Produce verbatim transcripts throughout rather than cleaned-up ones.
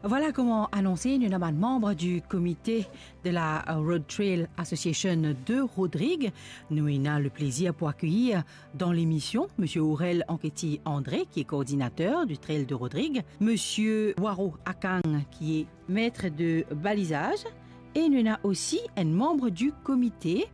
Voilà, kouma anonse, nou ena bann manm di komite de la, euh, Road Trail Association de Rodrig. Nou ena le plezir pou akeyir dan lemision Misie Aurel Anquety André, ki e koordinater di Trail de Rodrig, Misie Waro Akang, ki e met de balizaz, e nou ena osi enn manm di komite,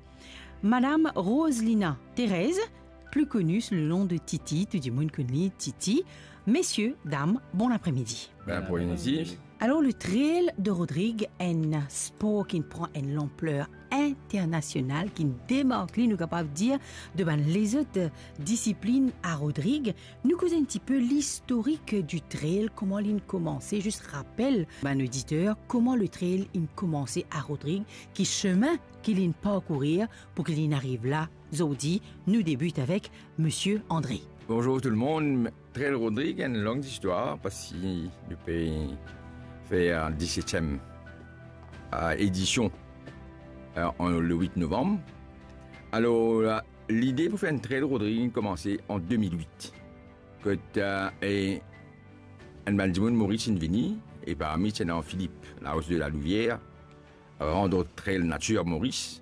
Madam Roselina Thérèse, pli koni sou le nom de Titi, tou dimoun konn li Titi. Mesie, dam, bon apremidi. Bon apremidi. Alor, le Trail de Rodrig, enn spor ki pran enn lanpler internasional, ki demark li, nou kapav dir, de bann lezot disiplin a Rodrig. Nou koz enn tipe listorik di trail, kouma li'nn koumanse, zis rapel bann oditer kouma le trail inn koumanse a Rodrig, ki semin ki li'nn parkourir pou ki li'nn ariv la. Zordi, nou debit avek Misie André. Bonzour tou lemonn. Trail Rodrig, enn long zistwar, parski nou pe fer disetiem, euh, edision, euh, an, le wit novanm. Alor, euh, lide pou fer enn Trail Rodrig inn koumanse an de mil wit. Kot, euh, e enn bann dimoun Moris inn vini, e parmi ti ena Philippe Laos de la Louvière, Rando Trail Nature Moris,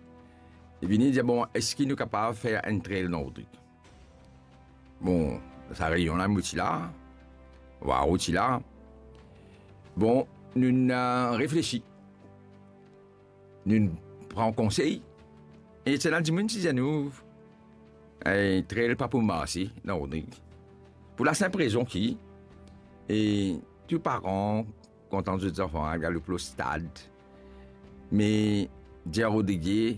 li vini dir, "Bon, eski nou kapav fer enn trail dan Rodrig?" Bon, sa reyinyon la, mo ti la, Waro ti la. Bon, nou, euh, reflesi. Nou pran konsey. E ti ena dimoun ti dir nou, "Eh, trail pa pou marse dan Rodrig." Pou lasinp rezon ki, e tou paran kontan zot zanfan al galoup lor stad. Me dir Rodrigie,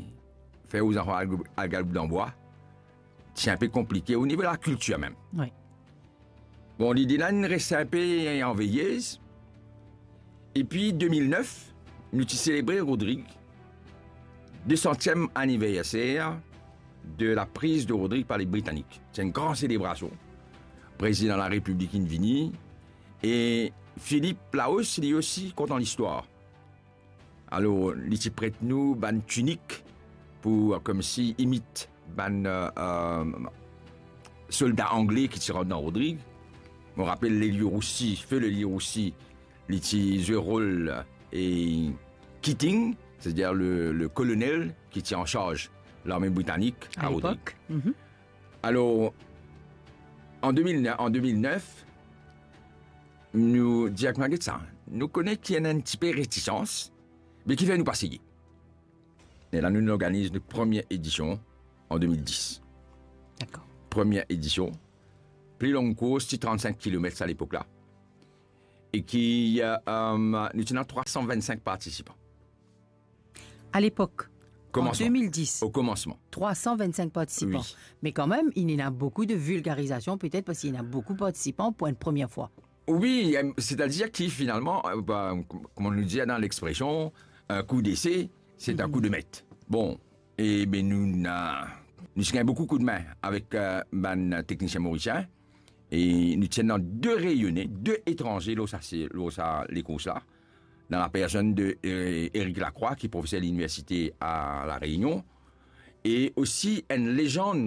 fer ou zanfan al, al galoup dan bwa, ti inpe konplike o nivo lakiltir mem. Wi. Bon, lide la inn res inpe anveyez. Epi de mil nef, nou ti selebre Rodrig, de santiem aniverser de la priz de Rodrig par le Britanik. Ti enn gran selebrasion. Prezidan Larepiblik inn vini, e Philippe Laos, li osi kontan listwar. Alor, li ti pret nou bann tinik pou, euh, koumsi imit bann, euh, euh, solda angle ki ti rant dan Rodrig. Mo rapel Leliourousi, Feu Leliourousi, li ti zwe rol, euh, e Keating, setadir le, le kolonel ki ti ansarz larme britanik a Rodrig. Alor, an de mil nef, an de mil nef, nou dir, "Kouma, get sa, nou kone ki ena enn tipe retisans, me kifer nou pa seye?" E la, nou, nou organiz nou premie edision an de mil dis. Dakor. Premie edision, pli long kours, ti trannsink kilomet a lepok la. E ki, euh, euh, nou ti ena trwa san vennsink partisipan. A lepok, an de mil dis, o koumansman. Trwa san vennsink partisipan. Wi. Me kanmem, inn ena boukou de vilgarizasion, petet parski inn ena boukou partisipan pou enn premie fwa. Wi, em, setadir ki finalman, euh, ba, kom-, kouma nou dir dan lexpresion, un coup d'essai, c'est un coup de maître. Bon, e be nou, na, nou ti gagn boukou koudme avek, euh, bann teknisien morisien, e nou ti ena de Reyone, de etranze lor sa, se, lor sa lekours la, dan lapersonn de, euh, Eric Lacroix, ki profeser liniversite a La Reynion, e osi enn lezann